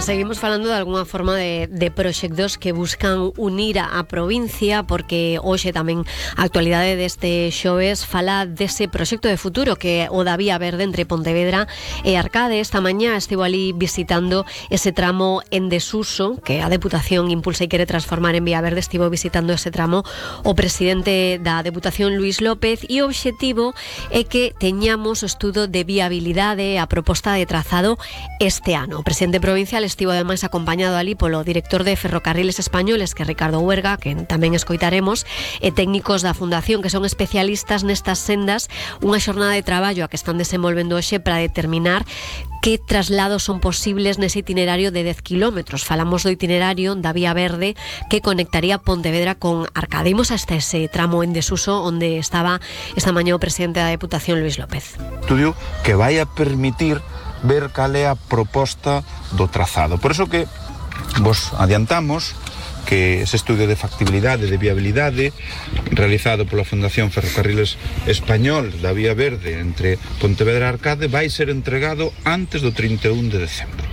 Seguimos falando de alguna forma de proxectos que buscan unir a provincia, porque hoxe tamén a actualidade deste xoves fala dese proxecto de futuro que o da Vía Verde entre Pontevedra e Arcade. Esta mañá estivo ali visitando ese tramo en desuso que a Deputación impulsa e quere transformar en Vía Verde. Estivo visitando ese tramo o presidente da Deputación, Luís López, e o obxectivo é que teñamos o estudo de viabilidade a proposta de trazado este ano. O presidente provincial estivo ademais acompañado ali polo director de Ferrocarriles Españoles, que é Ricardo Huerga, que tamén escoitaremos, e técnicos da Fundación que son especialistas nestas sendas, unha xornada de traballo a que están desenvolvendo hoxe para determinar que traslados son posibles nese itinerario de 10 kilómetros. Falamos do itinerario da Vía Verde que conectaría Pontevedra con Arcade. Imos hasta ese tramo en desuso onde estaba esta mañá o presidente da Deputación, Luís López. Estudio que vai a permitir ver cal é a proposta do trazado. Por eso que vos adiantamos que ese estudio de factibilidade, de viabilidade, realizado pola Fundación Ferrocarriles Español da Vía Verde entre Pontevedra e Arcade, vai ser entregado antes do 31 de decembro.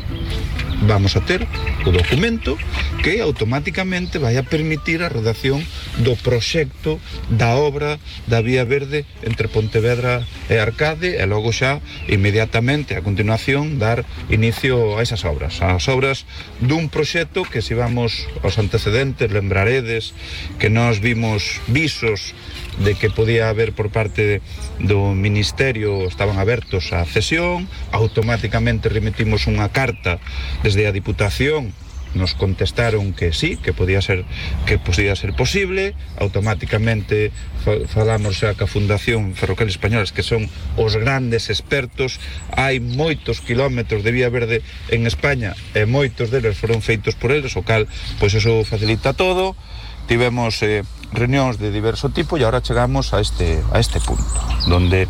Vamos a ter o documento que automáticamente vai a permitir a redacción do proxecto da obra da Vía Verde entre Pontevedra e Arcade, e logo xa inmediatamente a continuación dar inicio a esas obras, as obras dun proxecto que, se vamos aos antecedentes, lembraredes que nós vimos visos de que podía haber por parte do Ministerio, estaban abertos a cesión, automáticamente remitimos unha carta desde a Diputación, nos contestaron que sí, que podía ser posible, automáticamente falamos xa ca Fundación Ferrocarriles Españoles, que son os grandes expertos. Hai moitos kilómetros de Vía Verde en España e moitos deles foron feitos por eles, o cal, pois eso facilita todo. Tivemos reunións de diverso tipo e agora chegamos a este punto, donde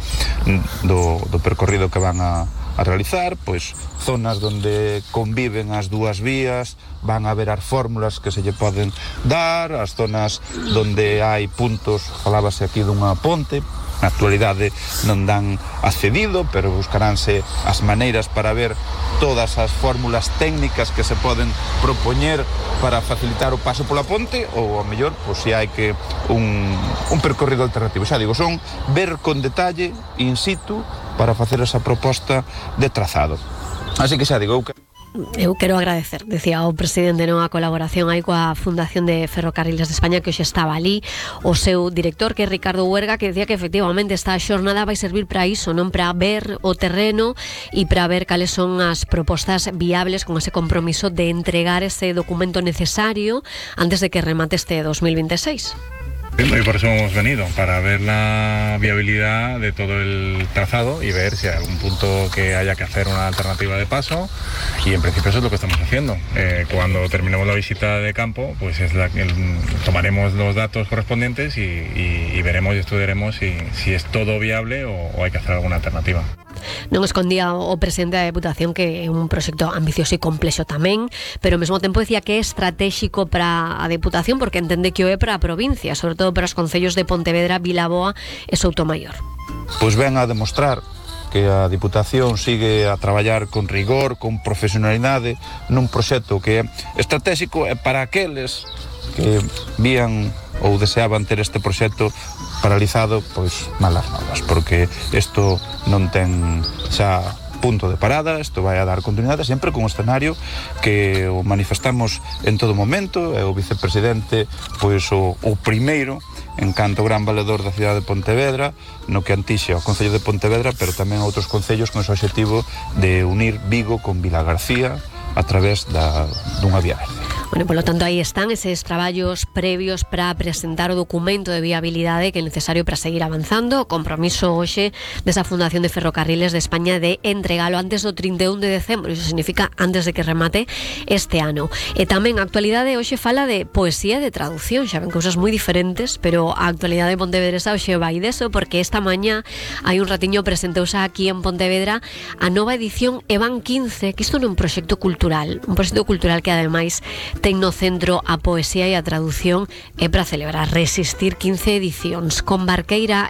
do percorrido que van a realizar, pois zonas donde conviven as dúas vías, van a haber as fórmulas que se lle poden dar, as zonas donde hai puntos, falábase aquí dunha ponte, na actualidade non dan accedido, pero buscaránse as maneiras para ver todas as fórmulas técnicas que se poden propoñer para facilitar o paso pola ponte, ou ao mellor, pois se hai que un percorrido alternativo. Xa digo, son ver con detalle, in situ, para facer esa proposta de trazado. Así que xa digo, eu quero agradecer, decía o presidente, non, a colaboración aí coa Fundación de Ferrocarriles de España, que hoxe estaba ali, o seu director, que é Ricardo Huerga, que decía que efectivamente esta xornada vai servir para iso, non, para ver o terreno e para ver cales son as propostas viables, con ese compromiso de entregar ese documento necesario antes de que remate este 2026. Y por eso hemos venido, para ver la viabilidad de todo el trazado y ver si hay algún punto que haya que hacer una alternativa de paso, y en principio eso es lo que estamos haciendo. Cuando terminemos la visita de campo, pues tomaremos los datos correspondientes y veremos y estudiaremos si es todo viable o hay que hacer alguna alternativa. Non escondía o presidente da Deputación que é un proxecto ambicioso e complexo tamén, pero ao mesmo tempo decía que é estratégico para a Deputación porque entende que o é para a provincia, sobre todo para os concellos de Pontevedra, Vilaboa e Soutomaior. Pois ven a demostrar que a Diputación sigue a traballar con rigor, con profesionalidade, nun proxecto que é estratégico para aqueles que vían ou deseaban ter este proxecto paralizado, pois malas novas, porque isto non ten xa punto de parada, isto vai a dar continuidade sempre con un escenario que o manifestamos en todo momento, e o vicepresidente pois o primeiro en canto gran valedor da cidade de Pontevedra, no que antixe ao Concello de Pontevedra, pero tamén a outros concellos con ese objetivo de unir Vigo con Vilagarcía a través dunha vía verde. Bueno, polo tanto, aí están eses traballos previos para presentar o documento de viabilidade que é necesario para seguir avanzando. O compromiso hoxe desa Fundación de Ferrocarriles de España de entregalo antes do 31 de decembro. Iso significa antes de que remate este ano. E tamén a actualidade hoxe fala de poesía e de traducción. Xa ven cousas moi diferentes, pero a actualidade pontevedresa hoxe vai deso, porque esta mañá hai un ratiño presentouse aquí en Pontevedra a nova edición Evan 15, que isto non é un proxecto cultural, que ademais ten no centro a poesía e a traducción, e para celebrar Resistir 15 edicións, con Barqueira